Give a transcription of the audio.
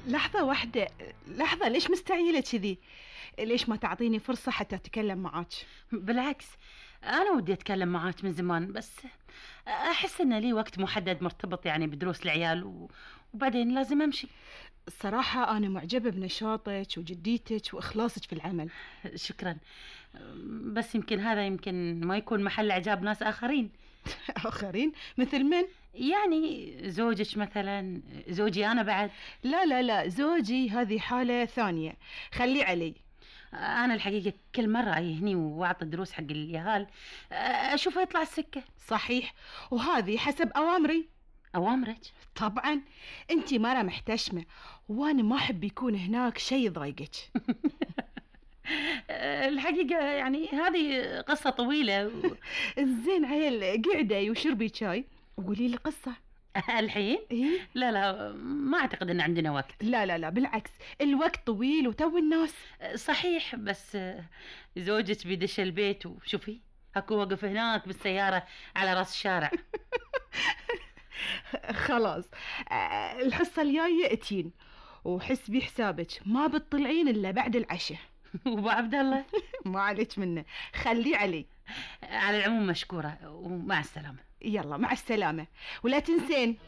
لحظة واحدة. لحظة، ليش مستعجلة كذي؟ ليش ما تعطيني فرصة حتى أتكلم معاك؟ بالعكس، أنا ودي أتكلم معاك من زمان، بس أحس إن لي وقت محدد مرتبط يعني بدروس العيال وبعدين لازم أمشي. الصراحة أنا معجبة بنشاطك وجديتك وإخلاصك في العمل. شكرا، بس يمكن ما يكون محل إعجاب ناس آخرين. آخرين؟ مثل من؟ يعني زوجك مثلا، زوجي أنا بعد. لا لا لا، زوجي هذه حالة ثانية، خلي علي. أنا الحقيقة كل مرة أجي هني وأعطي دروس حق اليهال أشوفه يطلع السكة. صحيح، وهذه حسب أوامري. أوامرك؟ طبعا، أنتي مرة محتشمة وأنا ما أحب يكون هناك شيء يضايقك. الحقيقة يعني هذه قصة طويلة زين عيل، قعدي وشربي شاي وقولي لي القصة. الحين؟ إيه؟ لا، ما أعتقد أن عندنا وقت. لا لا لا، بالعكس الوقت طويل وتو الناس. صحيح، بس زوجك بيدش البيت وشوفي هكو وقف هناك بالسيارة على راس الشارع. خلاص، الحصة الجاية اتين، وحسبي حسابك ما بتطلعين إلا بعد العشاء. وابو عبد الله؟ ما عليك منه، خليه علي. على العموم مشكورة ومع السلامة. يلا مع السلامة، ولا تنسين.